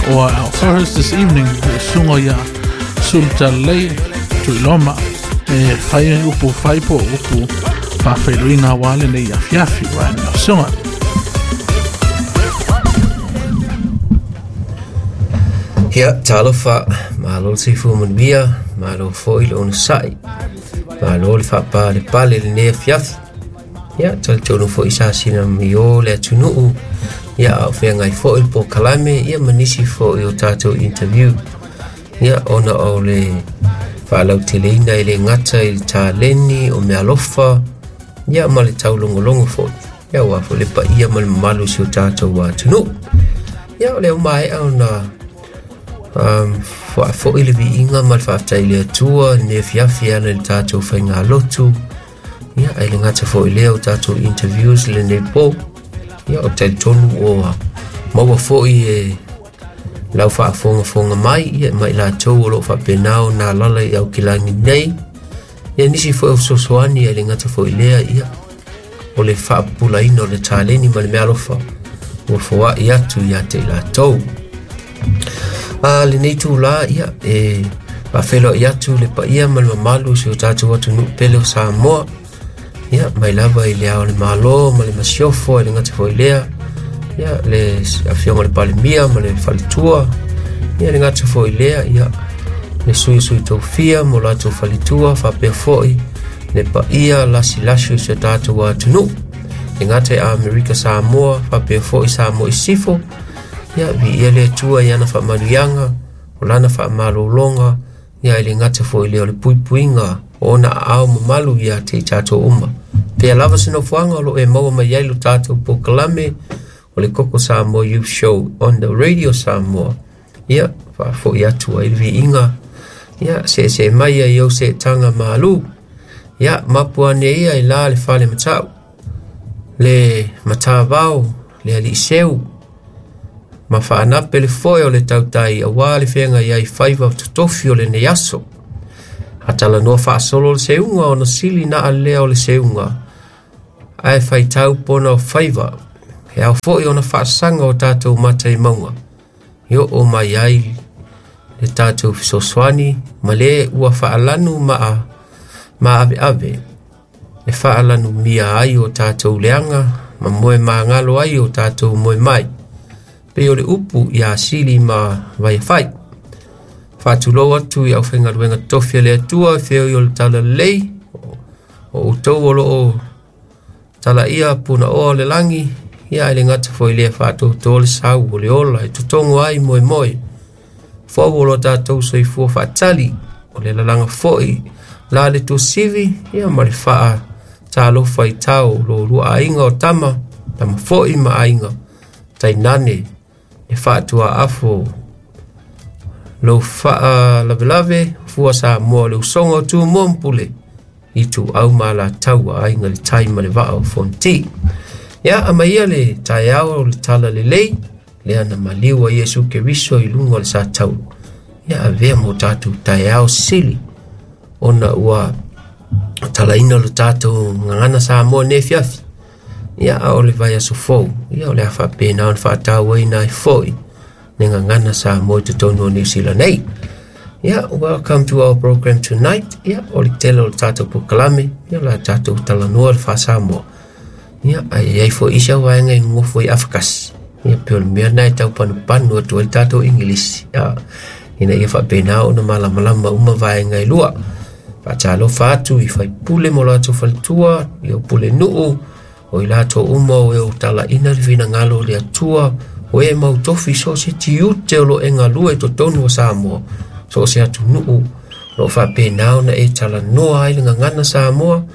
Or our co-host this evening, le susuga ia Sulutalelei Tuiloma, e fai upu fai po o upu faafeiloaiga aua lenei afiafi. Ua ane lau susuga. Ia, talofa, malo le soifua manuia, malo foi le onosai, malo le faapalepale i lenei afiafi. Ia, talitonu foi sa sina mio le atunuu, ia, a o feagai foi le polokalame, ia, ma nisi foi o tatou interview. Ia, ona o le faalauteleina e le gata i le taleni o meaalofa, ia, ma le taulogologo foi, ia, aua foi le paia ma le mamalu o si o tatou atunuu. Ia, o lea ua maea ona faafoi le viiga ma le faafetai i le Atua i lenei afiafi e ala i le tatou faigalotu. Ia, ae le gata foi i lea o tatou interviews i lenei po. Ia, ou te talitonu ua maua foi e lau faafogafoga mai, ia, ma i latou o lo o faapena ona alaala i Aukilani nei. Ia, nisi foi o fesoasoani, ae le gata foi i lea, ia, o le faapupulaina o le taleni ma le meaalofa ua foai atu ia te i latou. A lenei itulā, ia, e faafeiloai atu le paia ma le mamalu o si o tatou atunuu pele o Samoa, ia, mai lava i le Ao o le Malo ma le Masiofo, e le gata foi i lea, ia, le Afioga i le Palemia ma le Faletua, ia, le gata foi i lea, ia, le Sui o Sui Tofia ma o latou faletua, faapea foi le paia lasilasi o si o tatou atunuu, le gata i Amerika Samoa, faapea foi Samoa i Sisifo. Ia, viia le Atua i ana faamanuiaga, o lana faamalologa, ia, e le gata foi i lea o le puipuiga o ona aao mamalu ia te i tatou uma. Pea lava se nofoaga o lo o e maua mai ai lo tatou polokalame o le Koko Samoa Youth Show on the Radio Samoa. Ia, faafoi atu ai le viiga, ia, seesee mai ai ou seetaga malu. Ia, mapu ane ia i la le fale matau, le matavao, le alii seu, ma faanape le foe o le tautai aua le feagai ai faiva totofi o lenei aso. A talanoa faasolo le seuga ona sili na alea o le seuga, ae faitau pona o faiva, e ao foi ona faasaga o tatou mata i mauga, e oo mai ai le tatou fesoasoani ma le ua faalanu ma maaveave e faalanumia ai o tatou leaga ma moe magalo ai o tatou moe mai. Pei o le upu ia Sili ma Vaiafai. Faatulou atu i aufaigaluega totofi a le Atua e feoi o le talalelei, o outou o lo o talaia punaoa o le lagi, ia ae le gata foi i lea faatoutou le sau o le ola e totogo ai moemoe. Fou o lo tatou soifua faatali, o le lalaga foi la le tuasivi, ia ma le faa talofa i tao lo lua aiga o tama, tama foi ma aiga, tainane le faatuaafo lou faalavelave fua Samoa le usoga o Tumua ma Pule, Ituau ma Alataua, Aiga i le Tai ma le Vaa o Fonoti. Ia, aumaia le taeao o le talalelei, lea na maliu ai Iesu Keriso i luga o le satauro. Ia, avea mo tatou taeao sili, ona ua talaina lo tatou gagana Samoa nei afiafi. Ia, a o le vaiaso fou, ia, o le a faapena ona faatauaina ai foi le gagana Samoa i totonu o Niu Sila nei. Yeah, welcome to our program tonight. Yeah, o le tele o le tatou polokalame, ia, o le a tatou talanoa le faa-Samoa. Ia, ae i ai foi isi au vaega e nonofo i afakasi. Ia, pei o le mea lena e tau panupanu atu ai le tatou Igilisi, ia, ina ia faapena ona malamalama uma vaega e lua. Faatalofa atu i faipule ma o latou faletua, i pulenuu, o i latou uma o e o talaina le finagalo o le Atua, o e mau tofi so o se tiute o lo o e galue i totonu o Samoa, so o se atunuu o lo o faapena ona e talanoa ai le gagana Samoa,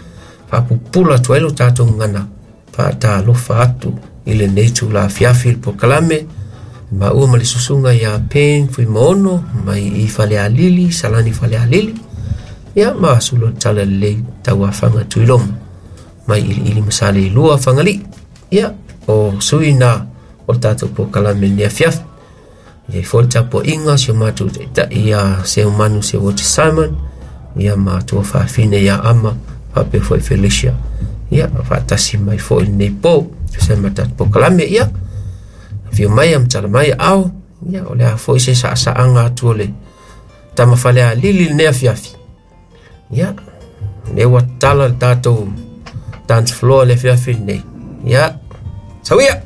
faapupula atu ai lo tatou gagana. Faatalofa atu i lenei itula afiafi i le polokalame maua ma le susuga ia Pen Fuimaono mai i Falealili, Salani Falealili, ia ma sulu o le talalelei Tauafaga Tuiloma mai Iliili ma Saleilua Fagalii. Ia, o sui na o le tatou polokalame lenei afiafi. E i ai foi le tapuaiga a si o matou taitai ia Seumanu Seuati Simon, ia ma tuafafine ia Ama, faapea foi Felicia. Ia, faatasi mai foi lenei po, tusa ma tatou polokalame. Ia, afio mai, amatala mai ao, Ia, o le a foi se saasaaga atu o le tama Falealili lenei afiafi. Ia, lea ua tatala le tatou dance floor le afiafi lenei. Ia, sauia!